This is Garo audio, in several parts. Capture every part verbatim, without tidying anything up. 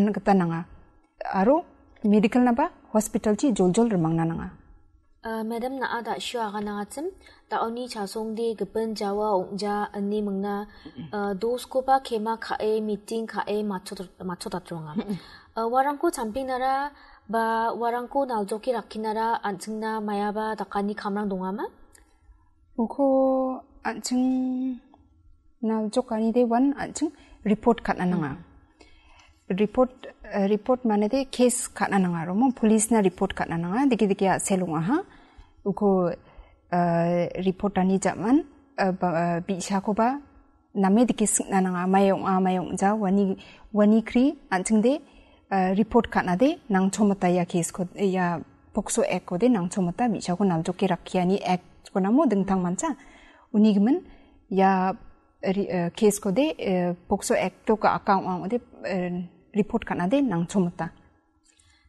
gita nanga. Aro medical-naba hospital-chi joljol rimangna nanga. Uh, Madam, na·a da·sio aganangachim, da·oni chasongde gipin jawa ong·ja ine mingna, uh, doskoba kema ka·e, meeting ka·e, matchot-, matchotatronga. Uh, uarangko champinara ba uarangko naljoke rakkinara an·chingna maiaba dakani kamrang dongama? Uko an·ching naljokanide uan an·ching report ka·na nanga. Report, eh, report manede case ka·na nanga aro mo police-na report ka·na nanga. Dike dike a·sel ong·aha. Uko, eh, report-ani ja·man, eh, ba, eh, bi·sakoba name dike sing·na nanga. Mae ong·a, mae ong·ja, uani, uani kri an·chingde, eh, report ka·nade nangchomita ia case-ko, ia POCSO Act-kode nangchomita bi·sako naljoke rakkiani Act-konamo dingtang mancha. Uni gimin ia ri-, eh, case-kode, eh, POCSO Act-o ka-, ka ong·a ong·ode, eh, report ka·nade nangchomita.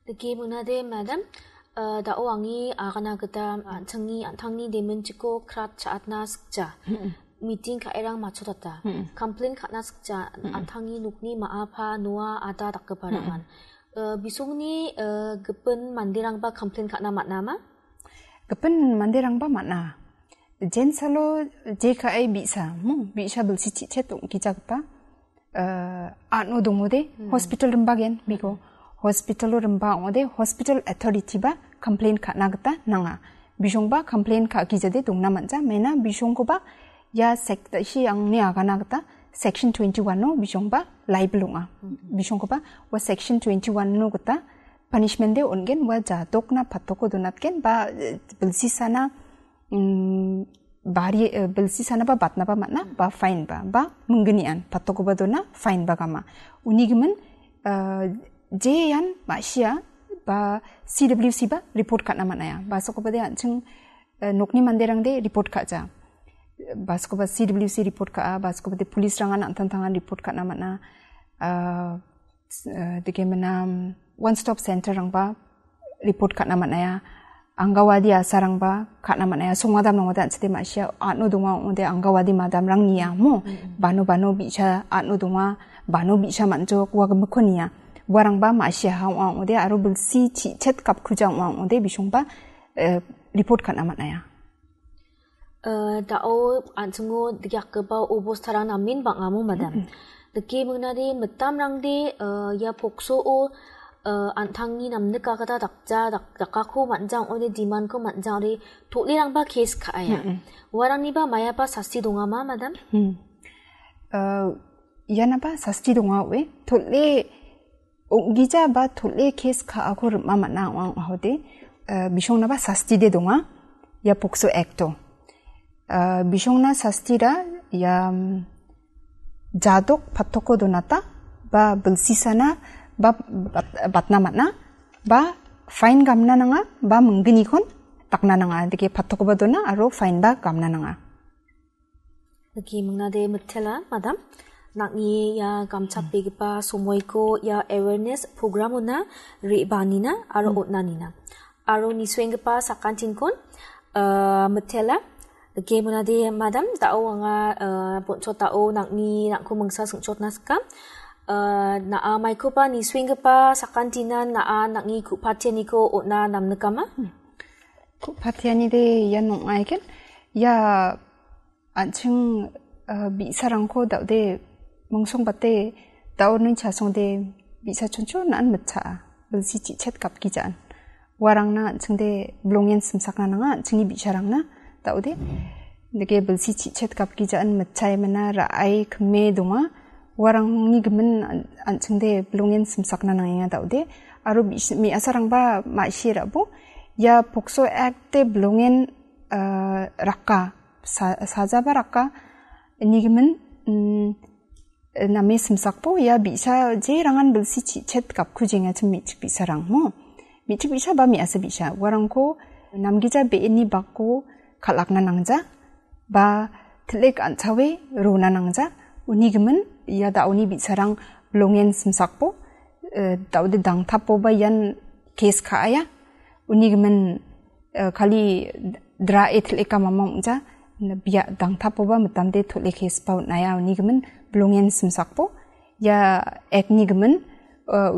Dake mingna de, Madam, eh, da·o angi agana gita an·chingni an·tangni demenchiko krat cha·atna sikja. Meeting ka·erang matchotata. Complain ka·na sikja, an·tangni nokni ma·apa, noa, ada dakgiparangan. Eh, bisongni, eh, gipin manderangba complain ka·na man·ama? Gipin manderangba man·a. Jensalo je ka·e bi·sa, mo, bi·sa bilsi chi·chet ong·gijagipa, eh, an·o dongode, hospital rimbagen, biko. Hospital-o rimba ong·ode, hospital authority-ba complain ka·na gita nanga. Bisongba complain ka·gijade dongna man·ja, mena bisongkoba ia sek-, si angni agana gita section twenty-one-o bisongba liable ong·a. Bisongkoba ua section twenty-one-o gita punishment-de on·gen, ua jadokna patoko donatgen, ba, eh, bilsisana, mm, bari, eh, bilsisanaba batnaba man·a, ba fine ba, ba minggnian patokoba dona, fine ba gama. Uni gimin, eh, je ian ma·sia ba C W C ba report ka·na man·aia. Ba sokobade an·ching, eh, nokni manderangde report ka·ja. Ba sokoba C W C report ka·a, ba sokobade police-rangan an·tangtangan report ka·na man·a. Eh, s-, eh, dike mena, mm, one stop center-rangba report ka·na man·aia. Angawadi asarangba ka·na man·aia. Songadam nongode an·chide ma·sia, ano donga ong·ode angawadi madamrang nia mo. Bano bano bi·sa ano donga, bano bi·sa man·jok, ua gimikko nia. Uarangba ma·siaha ong·a ong·ode aro bilsi chi·chet gapkuja ong·a ong·ode bisongba, eh, report ka·na man·aia. Eh, da·o an·chingo dakgipa obostarang namen bang·amo, madam. Dake mingnade mitamrangde, eh, ia POCSO-o, eh, an·tangni namnikagita dakja, dak-, dakako man·ja ong·ode demand-ko man·ja ong·ode tol·erangba case ka·aia. Uarangniba maiaba sasti dongama, madam? Hmm. Eh, ianaba sasti donga oe. Tol·e ong·gija ba tol·e case ka·ako rim·a man·a ong·a ong·ahode, eh, bisongnaba sastide donga, ia POCSO Act-o. Eh, bisongna sastira ia, mm, jadok patoko donata ba bilsisana ba bat-, batna man·a ba fine gamna nanga ba mingginikon dakna nanga. Dake patokoba dona aro fine ba gamna nanga. Dake mingnade mitela, madam. Nang·ni ia gamchatbegipa somoiko ia awareness program-ona re·baanina aro on·anina. Aro nisuenggipa sakantinkon, eh, mitela. Dake mingnade, madam, da·o anga, eh, bonchot da·o nang·ni nang·ko mingsa singchotna sika. Eh, na·a maikoba nisuenggipa sakantinan na·a nang·ni ku·patianiko on·a namnikama? Ku·patianide ian ong·aiken. Ia an·ching, ah, bi·sarangko da·ode mingsungbate da·oni chasongde bi·sa chonchon an mitchaa. Bilsi chi·chet gapgijaan. Uarangna an·chingde bilongen simsakna nanga an·chingni bi·sarangna da·ode. Dake bilsi chi·chet gapgijaan mitchae mina ra·ai kime donga. Uarangni gimin an-, an·chingde bilongen simsakna nangenga da·ode. Aro bi·, me·asarangba ma·sie ra·bo. Ia POCSO Act-de bilongen, ah, raka. Sa-, sajaba raka. Ini gimin, mm, name simsakbo ia bi·sa jerangan bilsi chi·chet gapkujengachim me·chik bi·sarang mo. Me·chik bi·sa ba me·asa bi·sa. Uarangko namgija be·eni bako kal·akna nangja ba til·ek an·chawe rona nangja. Uni gimin ia da·oni bi·sarang bilongen simsakbo, eh, da·ode dangtapoba ian case ka·aia. Uni gimin, eh, kali dra·e til·eka mama ong·ja, bia dangtapoba mitamde tol·e case ba on·aia. Uni gimin bilongen simsakbo ia Act-ni gimin, eh,